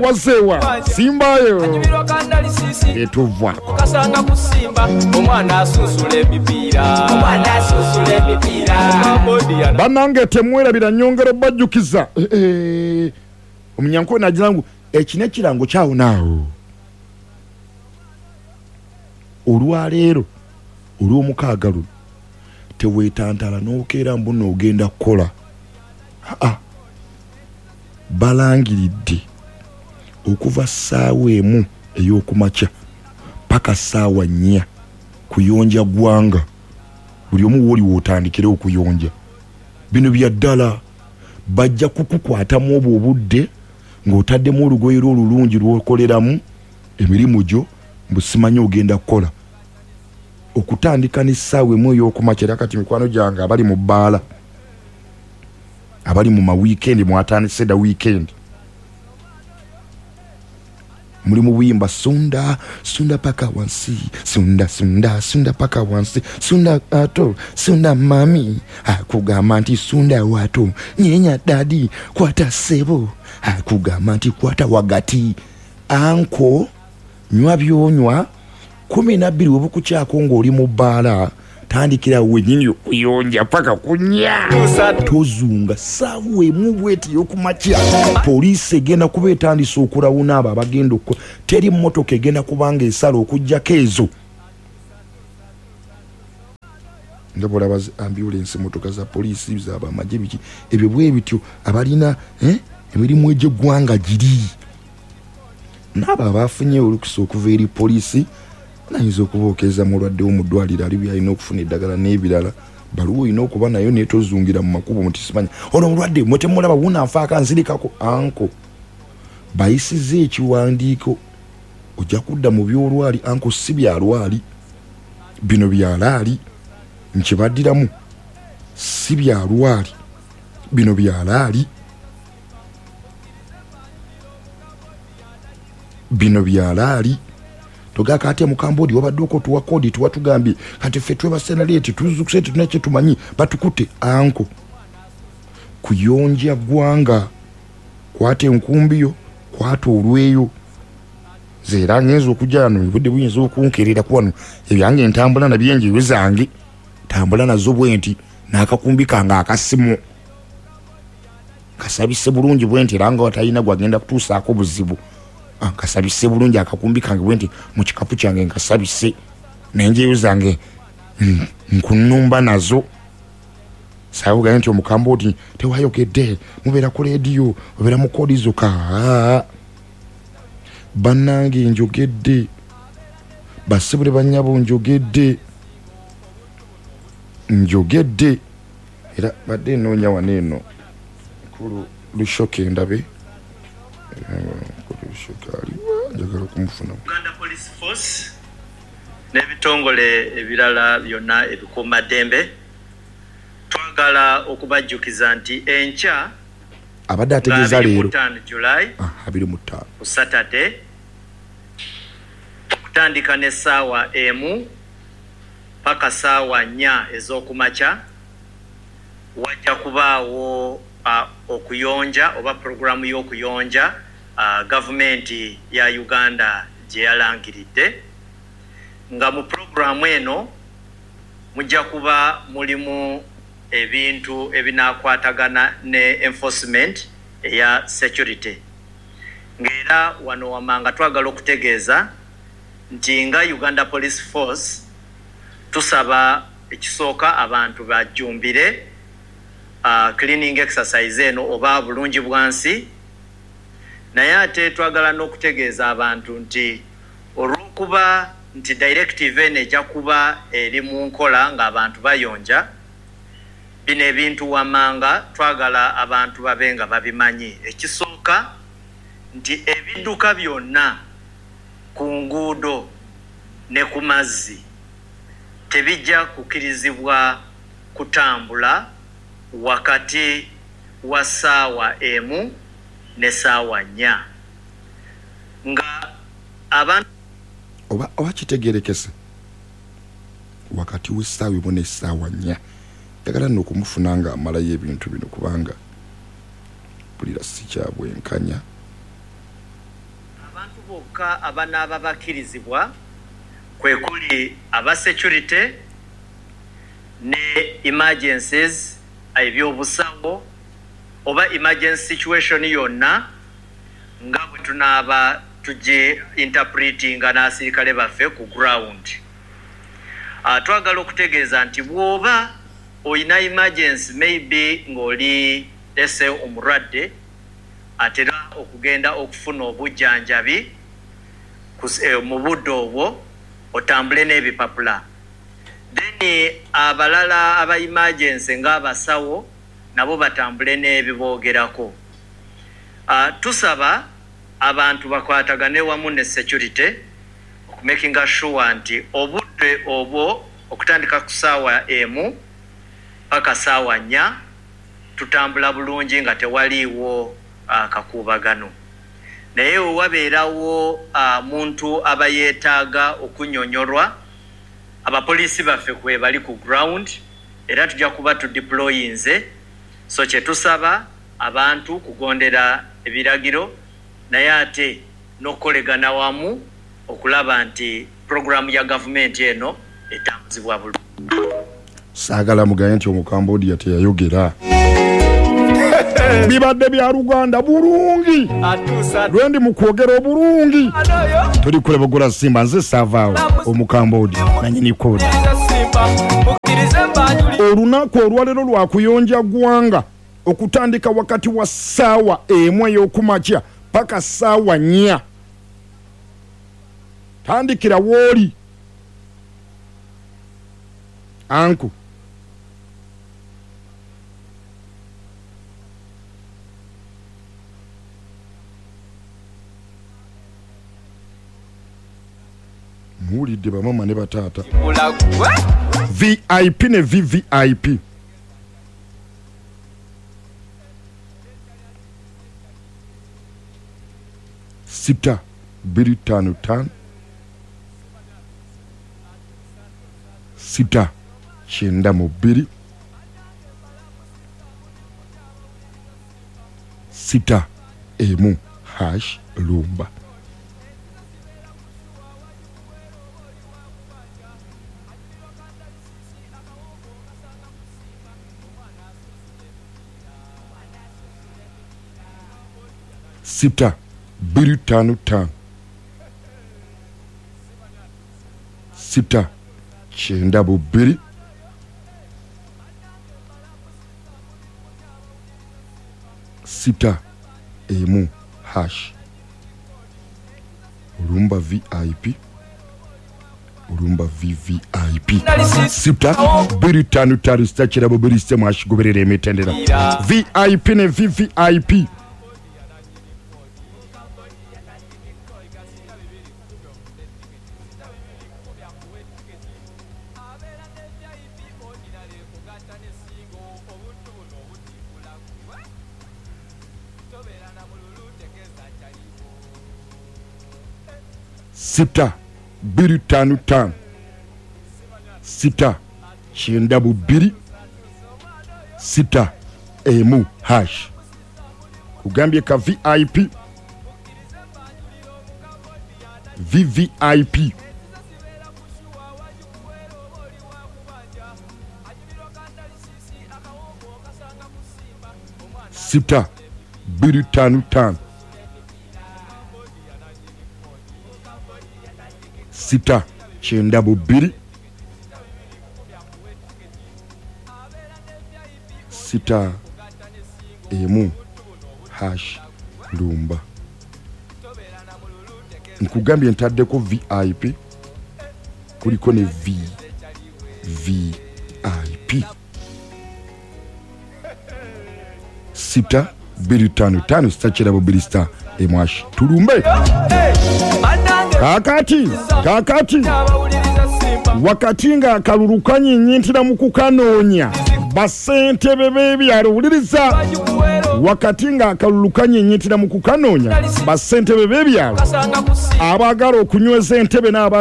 Wazeewa simbayo etuvaako. Kasanga kusimba omwana asunsula emipiira, omwana asunsula emipiira. Bannange temwerabira, nyongera bajjukiza. Omunyankole nagira ngu eki n'ekirango kyawo naawo. Olwaleero olw'omukaaga luno teweetantala n'okeera mbu n'ogenda kukola. Aa, balangiridde okuva ssaawa 1 ey'okumakya paka ssaawa 4 kuyonja ggwanga. Buli omu wooli wootandikire okuyonja. Bino bya ddala, bajja kukukwatamu obwo obudde ng'otaddemu olugoye lwo olulungi lw'okoleramu emirimu gyo, mbu simanyi ogenda kukola. Okutandika n'essaawa 1 ey'okumakya. Era kati mikwano gyange abali mu bbaala, abali mu mawiikendi, mwatandise dda wiikendi, muli mu buyimba sunda sunda paka wansi, sunda sunda sunda paka wansi, sunda ato sunda mami akugamba nti sunda wato, nyenya dadi kwata sebo akugamba nti kwata wagati, anko nywa byonywa. 12 webukukyako ng'oli mu bbaala, tandikira wennyini okuyonja paka kunya. Tozunga ssaawa 1 bweti ey'okumakya. Poliisi egenda kuba etandise okulawuna abo abagenda okukola. Teri mmotoka egenda kuba ng'esala okuggyako ezo. Nga bw'olaba zi ambulensi, mmotoka za poliisi, z'abamagye, biki ebyo bwe bityo, abalina emirimu egy'eggwanga giri. N'abo abafunye olukusa okuva eri poliisi nayinza okubookeza mulwadde wo mu ddwaliro ali byalina okufuna eddagala n'ebirala. Baluwa olina okuba nayo naye tozungira mu makubo nti simanya ono omulwadde mwe temulaba wuno anfaako anzirikako. Anko bayisizza ekiwandiiko ojja kudda mu by'olwali. Anko si byalwali, bino byalaali. Nkibaddiramu, si byalwali, bino byalaali, bino byalaali. Togaka ate mukambodi wabadde oko tuwa kodi tuwatugambye kati ffe twebase naleeti tuzukuse tetulina kye tumanyi batukute. Anko kuyonja ggwanga, kwata enkumbi yo, kwata olweyo. Nze era ngenza okujja wano obudde buyinza okunkerera ku wano ebyange ntambula nabyo enjeyo zange tambula nazo bwe nti n'akakumbi kange akasimu kasabise bulungi bwe nti, era nga watalina gwagenda kutuusaako buzibu. Nkasabise bulungi akakumbi kange bwe nti mu kikapu kyange nkasabise n'enjeyo zange nkunumba nazo. Saabugaye nti omukamba oti tewayogedde, mubeera ku leediyo, obeera mu koodi zokka. Bannange njogedde, bassebo ne bannyabo njogedde, njogedde. Era badde nnoonya wano eno Mukulu Lushoke ndabe. Mukulu Lushoke aliwa, njagala okumufuna. Uganda Police Force n'ebitongole ebirala byonna ebikuumaddembe twagala okubajjukiza nti enkya abadde ategeeza leero 25 July 25 ku Saturday okutandika n'essaawa 1 paka ssaawa 4 ez'okumakya wajja kubaawo okuyonja oba pulogulaamu y'okuyonja gavumenti ya Uganda gye yalangiridde. Nga mu pulogulaamu eno mujja kuba mulimu ebintu ebinaakwatagana ne enforcement eya security. Ng'era wano wamanga twagala okutegeeza nti nga Uganda Police Force tusaba ekisooka abantu bajjumbire cleaning exercise eno oba bulungi bwansi, naye ate twagala n'okutegeeza abantu nti olw'okuba nti directive eno ejja kuba eri mu nkola ng'abantu bayonja bino ebintu wamanga twagala abantu babe nga babimanyi. Ekisooka nti ebidduka byonna ku nguudo ne ku mazzi tebijja kukkirizibwa kutambula wakati wa ssaawa 1 ne ssaawa 4 nga abantu oba kitegerekese wakati w'essaawa 1 n'essaawa 4. Njagala nno okumufuna nga amalayo ebintu bino kubanga mpulira si kya bwenkanya. Abantu bokka abanaaba bakkirizibwa kwe kuli aba security ne emergencies, ebyobusawo oba emergency situation yonna nga bwe tunaaba tugi interpretinga n'asirikale baffe ku ground. Twagala okutegeeza nti bw'oba olina emergency, maybe ng'oli ese omulwadde atera okugenda okufuna obujjanjabi mu budde obwo, otambule n'ebipapula. Then abalala aba emergency ng'abasawo nabo batambule n'ebiboogerako. Tusaba abantu bakwatagane wamu ne security okumakinga sure nti obudde obwo okutandika ku ssaawa 1 paka ssaawa 4 tutambula bulungi nga tewaliiwo kakuubagano. Naye wabeerawo muntu aba yeetaaga okunyonyolwa, abapoliisi baffe kwe bali ku ground era tujja kuba tudeployinze. So kye tusaba abantu kugondera ebiragiro, naye ate n'okukolegana wamu okulaba nti puroguramu ya gavumenti eno etambuzibwa bulungi. Saagala mugaye nti Omukambodia teyayogera. Bibadde bya Luganda bulungi, lwendi mu kwogera obulungi. Tuli kulebagula Simba, nze saavaawo Omukambodi nanyini kodi. Olunaku olwaleero lwa kuyonja ggwanga okutandika wakati wa ssaawa 1 ey'okumakya paka ssaawa 4. Tandikira wooli anku. Muwulidde bamama ne bataata. VIP ne VVIP. Sita bbiri ttaano ttaano sita kyenda mu bbiri sita emu hash lumba. Sita bbiri ttaano ttaano sita kyenda mu bbiri sita emu hash. Olumba VIP, olumba VVIP. Sita bbiri ttaano ttaano sita kirabo bbiri sita mwashigoberera emitendera. VIP ne VVIP. Sita bbiri ttaano ttaano sita kyenda mu bbiri sita emu hash. Kugambye ka VIP, VVIP. Sita bbiri ttaano ttaano sita kyenda mu bbiri sita emu hash lumba. Nkugambye ntaddeko VIP, kuliko ne VVIP. Sita bbiri ttaano ttaano sita kirabo bbiri sita emu hash. Tulumbe. Kakati, kakati. Wakati nga akalulu kanyinyintira mu kukanoonya, bassentebe b'ebyalo wuliriza. Wakati nga akalulu kanyinyintira mu kukanoonya, bassentebe b'ebyalo abaagala okunyweza entebe n'aba